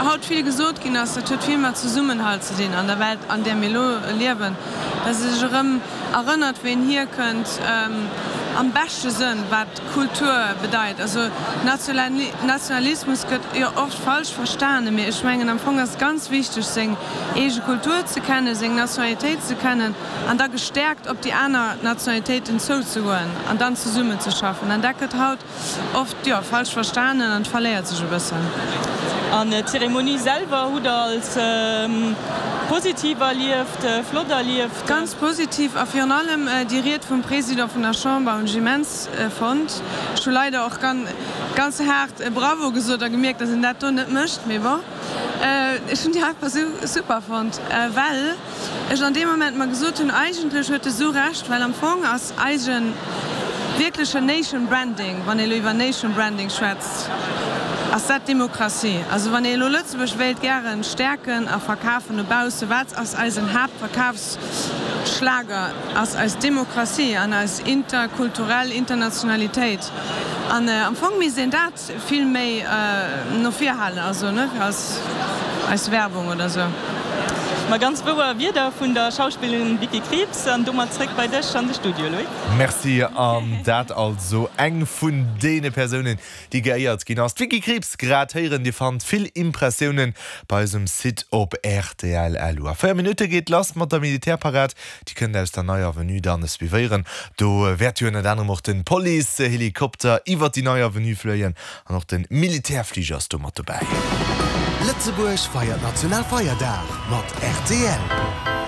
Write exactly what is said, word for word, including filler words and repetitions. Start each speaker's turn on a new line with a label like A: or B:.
A: haut vill gesot ginn ass, dat huet vill mat Zesummenhalt ze dinn an der Welt, an där mir elo liewen, dass ee sech erëm erënnert, wou een hierkënnt, am beschte Sënn, wat Kultur bedeit. Also Nationalismus gëtt jo oft falsch verstanen, mee ech mengen am Fong ass et ganz wichteg, seng eege Kultur ze kennen, seng Nationalitéit ze kennen an da gestäerkt op déi aner Nationalitéiten zouzegoen an dann zesummenzeschaffen. An dat gëtt haut oft, jo, falsch verstanen an verléiert sech e bëssen.
B: An d'Zeremonie selwer hutt Der als positiv erlieft, flott erlieft?
A: Ganz positiv a virun allem déi Ried vum Président vun der Chamber hunn ech immens fonnt. Ech hu leider och ganz haart Bravo gesot a gemierkt, dass een dat do net mécht, mee bon. Ech hunn déi einfach super fonnt, well ech an deem Moment mer gesot hunn, eigentlech huet e sou Recht, well am Fong ass eise wierklechen Nation Branding, wann ee elo iwwer Nation Branding schwätzt, ass dat d'Demokratie. Also wann ee elo Lëtzebuerg wéilt gären stäerken a verkafen no bausse, wat ass eisen Haaptverkafsschlager? Ass eis Demokratie an eis interkulturell Internationalitéit. An am Fong misst een dat vill méi no vir halen, also ne, als eis Werbung oder sou.
B: Ma ganz wouer Wierder vun der Schauspillerin Vicky Krieps. An domat zréck bei dech an de Studio, Loïc.
C: Merci. An dat also eng vun deene Persounen, déi geéiert ginn ass, d'Vicky Krieps grad héieren. Dir fannt vill Impressiounen bei eis um Site op rtl. Lu. A véier Minutte geet lass mat der Militärparad. Déi kënnt aus der Neier Avenue dann suivéieren. Do wäert jo ënnert anerem och de Policehelikopter iwwert déi Nei Avenue fléien an och de Militärfliger ass do mat dobäi.
D: Lëtzebuerg feiert Nationalfeierdag mat rtl.